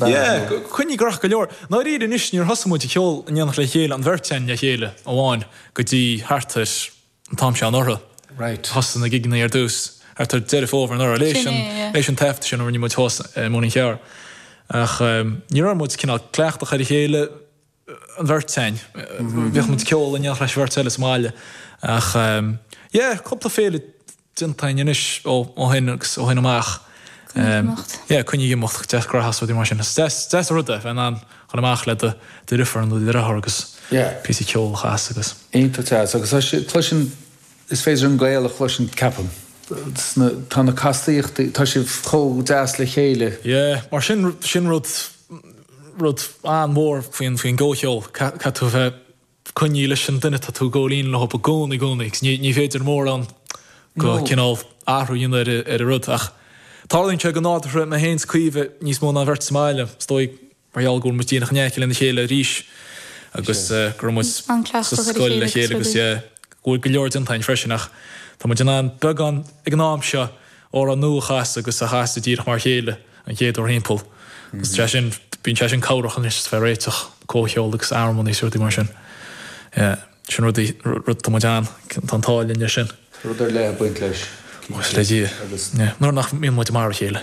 ea? Yeah, coinnithe gnóthach go leor. Ndáiríre anois, níor thosaigh muid ag ceol in éineacht le chéile, an bheirt againn le chéile amháin, go dtí thart ar an t-am seo anuraidh. Right. Thosaigh na gigeanna ar dtús, thart ar Deireadh Fómhair anuraidh, leis an, leis an taifead sin a rinne muid thuas i Móinín Chearr. Ach ní raibh muid cineál cleachtach ar a chéile, an bheirt againn. Bhíodh muid ag ceol in éineacht leis an bheirt eile sa mbaile. Ach yeah, cúpla féile déanta againn anois ó shin agus ó shin amach. Coinnigh ag imeacht. Yeah, coinnigh ag imeacht, deas graitheach is rudaí mar sin. Is deas, deas an rud é, bheith in ann dhul amach le do dheirfiúr nó do dheartháir agus píosa ceoil a chasadh agus. Iontach deas. Agus tá sé, cloiseann, is féidir an gaol a chloisint, ceapaim. Sna, tá na castaíochtaí, tá sibh chomh deas le chéile. Yeah, mar sin, sin rud, rud an-mhór faoin, faoin gcomhcheol, caithfidh tú a bheith coinnithe leis an duine atá tú ag gabháil fhoinn leo i gcónaí, i gcónaí, agus ní féidir mórán go cineál athrú a dhéanamh ar an rud ach tarlaíonn sé go nádúrtha mé féin is Caoimhe níos mó ná an bheirt sa mbaile, is dóigh mar gheall go bhfuil muid díreach in aice lena chéile arís agus go raibh muid sa scoil le chéile agus yeah go bhfuil go leor déanta againn freisin ach tá muid in ann beagán ag an am seo amhrán nua a chasadh agus a chasadh díreach mar a chéile. an chéad uair thimpeall. Agus tá sé sin, bíonn sé sin cabhrach anois is bheith réiteach, comhcheol agus armóin is rudaí mar sin. Yeah, sin rudaí, rud tá muid an, tá an t-ádh linn leis sin. Tá rud ar leith ag baint leis. Buíochas le Dia. Agus. Yeah, nuair nach mbíonn muid mar a chéile.